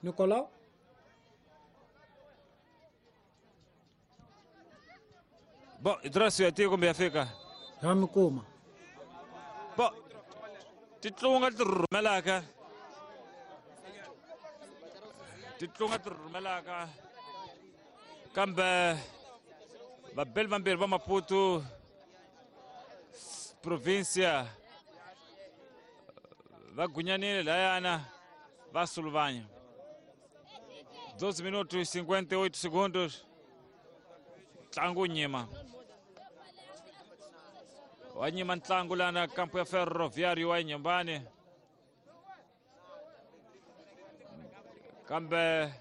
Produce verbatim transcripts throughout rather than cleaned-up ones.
Nicolau Bom, Idrasio ya tiko kumbe ya fika ya mi kuma bo titlunga ti rhumelaka titlunga ti rhumelaka kambe vabeli vambirhi va Maputo provincia va gunyanile layana va suluvanya doze minutos cinquenta e oito segundos ntlangu nyima wa nyima ntlangu lana kampo ya Ferroviário wa Inhambane kambe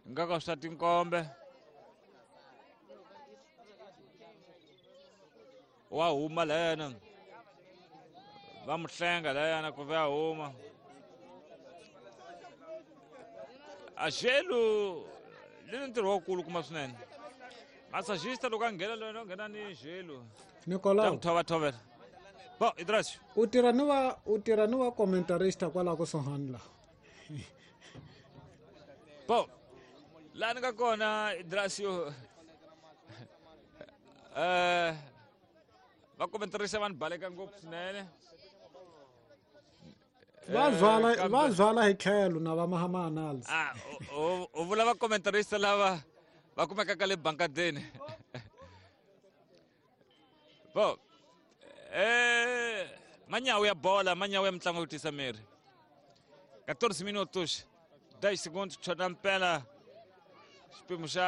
ngaka swa tinkombe wa huma layana va muhlenga layana ku va huma a gelo le ntirho wa kulu kuma swinene massagista loko a nghena loyi no nghena ni gelo Nicolau thova thovela bo Idrasio u tirha ni va u tirha ni va commentarista kwalaho kusuhani la bo laha ni nga kona Idrasio eh va commentarista va ni baleka ngopfu swinene va zwala va zwala hi tlhelo na va mahama analysis ah u vula va commentarista lava va kumekaka le bankadeni bo eh manyawu ya bola manyawu ya mitlangu yo tisa miri quatorze minutos dez segundos chota mpela xipimo xa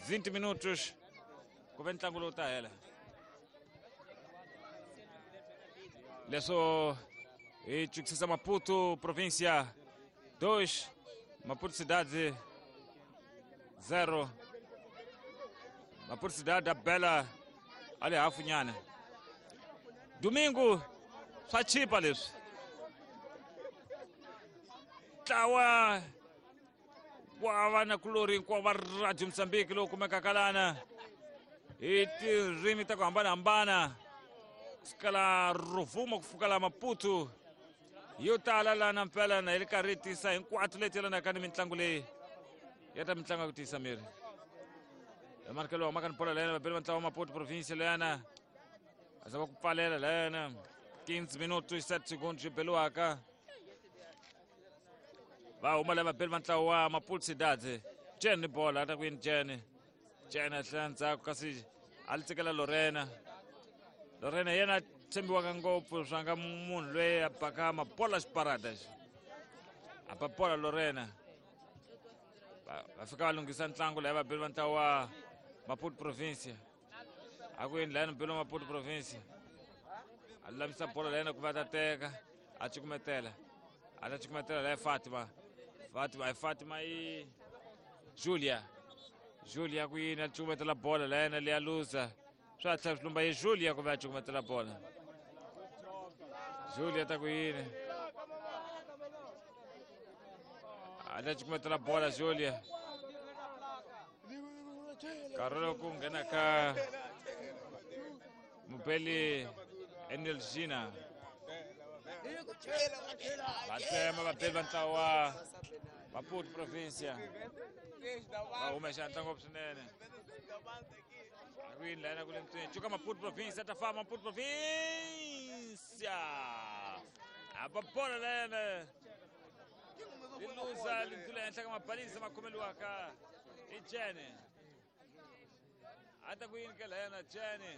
vinte minutos ku ve ntlangu lowu ta hela leswo hi chukisisa Maputo província dois Maputo cidade zero Maputo cidade a bela ali hafu nyana domingo swa chipa leswi ntlawa wa vanakulori hinkwavo va Radio Mozambique lowu kumekaka lana hi tindzimi ta ku hambanahambana kusukela Rovuma ku fika la Maputo yo tala lana mpela na hi ri karhi hi tisa hinkwato leti yelanaka ni mitlangu leyi ya ta mitlangu ya ku tiyisa miri emarkelo wa maka ni bola layana vabeli va ntlawa wa Maputo província layana a zama ku pfalela layana quinze minutos sete segundos yi beliwaka va huma lava vabeli va ntlawa wa Maputo Cidade Jene ni bola a ta ku yini Jene Jene a tlhela ndzhaku kasi a li tsikela Lorena Lorena yena tshembiwaka ngopfu swa nga munhu loyi a baka mabola xiparada xi a ba bola Lorena va fika va lunghisa ntlangu laha vabeli va ntlawa wa Maputo provincia a ku yini layani mubeli wa Maputo provincia a lulamisa bola layena ku va ta teka a cukumetela a ta cukumetela laya Fatima Fatima ai Fatima i Julia Julia ku yini a cukumetela bola layena leya luza swa tlhela swi lumba hi Julia ku va a cukumetela bola Julia ta ku yini a ta cukumetela bola Julia nkarhi lowu ku nghena ka mubeli Enelgina va tsema vabeli va ntlawa wa Maputo provincia va huma xandla ngopfu swinene a ku yini layana ku le ntsweni cuka Maputo provincia ta famba Maputo provincia a ba bola layana li luza li ndlula henhla ka mabalisa ma khomeliwaka i Jene a ta ku yini ke layana Jene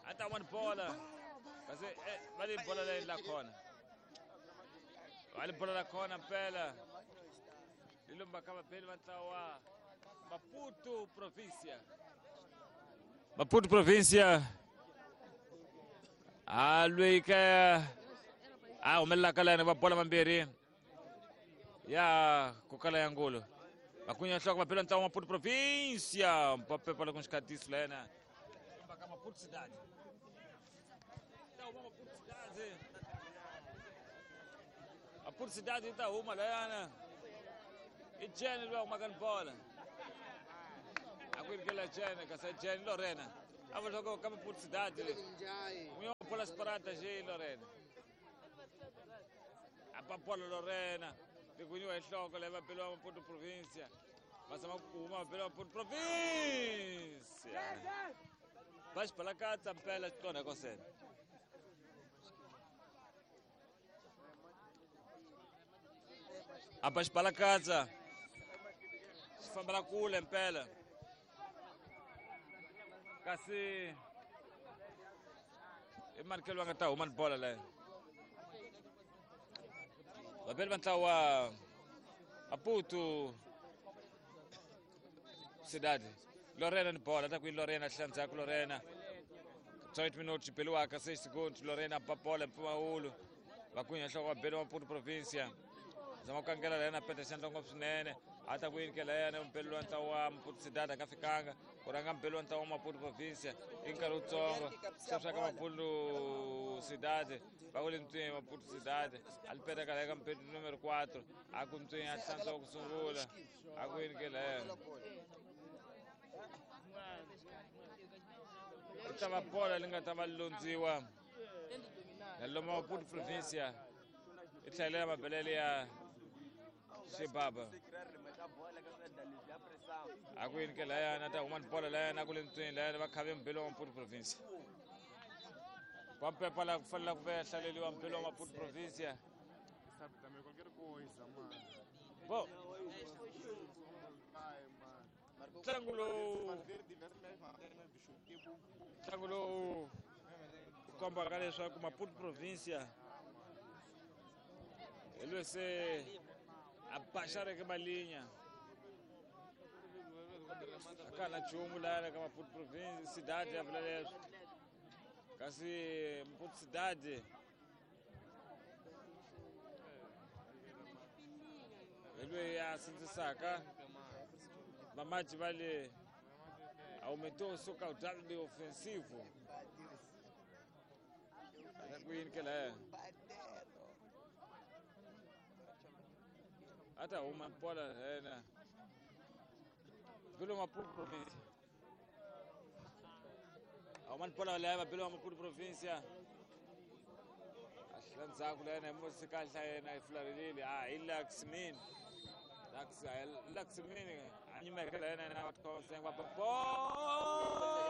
a ta wani bola kasi eh, va li bola leyi la khona va li bola la khona mpela li lumba ka vabeli va ntlawa Maputo provincia Maputo provincia a lweyi ka a humelelaka layani va bola mambirhi ya ku kala ya ngulu vakunya nhloko vabeli va ntlawa Maputo provincia mpapepa loko xikatiso layena lumba ka Maputo cidade Maputo cidade Maputo cidade yi ta huma layana i Jene loyi a humaka ni bola a ku yirikela Jene kasi Jene Lorena a vula leswaku ka Maputo cidade n'winyi wa bola xiparata xi Lorena a A ba bola Lorena. Ligwinyiwa hi nhloko leyi vabeli va Maputo Provincia. Va zama ku huma vabeli va Maputo Provincia. Va xibalakatsa mpela xikona kosena. A ba xibalakatsa. Xi fambela kule mpela. Kasi i mani loyi a nga ta huma ni bola leyo. Vabeli va ntlawa wa Maputo Cidade. Lorena ni bola, ta ku Lorena hlandzaka Lorena. twenty minutos beliwaka seis segundos Lorena ba bola mpfumawulo. Va kunya nhloko vabeli va Maputo Provincia. Zama ku kangela lena peta xandla ngopfu swinene. A ta ku yini ke lena mpeli wa ntlawa wa Maputo Cidade a nga fikanga. Ku rhanga mpeli wa ntlawa wa Maputo Provincia i nkarhi wutsongo. Sweswi ka Maputo Cidade va ku le ntswini Maputo Cidade a li peta kala eka mpeli numero quatro a ku ntswini a hlantswa ku sungula a ku yini ke lena. I ta va bola li nga ta va londziwa na loma Maputo Provincia i tlhelela mabelele ya Xibaba. A ku yini ke layana ta huma ni bola layana ku le ntswini layana va khave mbelo wa Maputo Provincia. Kwampepa la ku fanele ku ve hlaleliwa mbelo wa Maputo Provincia. Sabe também qualquer coisa, mano. Bom, ntlangu lowu ntlangu lowu kombaka leswaku Maputo Provincia hi loyi se a baxareke malinya a ka na nchumu laya ka Maputo Provincia Cidade ya vula leswo kasi Maputo Cidade hi loyi a sindzisaka vamaji va le aumentou o seu caudal de ofensivo. Até ku yini ke laya a ta huma bola yena Belo Maputo Provincia. A huma bola leya va Belo Maputo Provincia. A hlula ndzhaku leyena hi musi kahle yena yi fularhelile a hi Laxmin. Laxmin a nyimeke leyena yena va thosa va bola.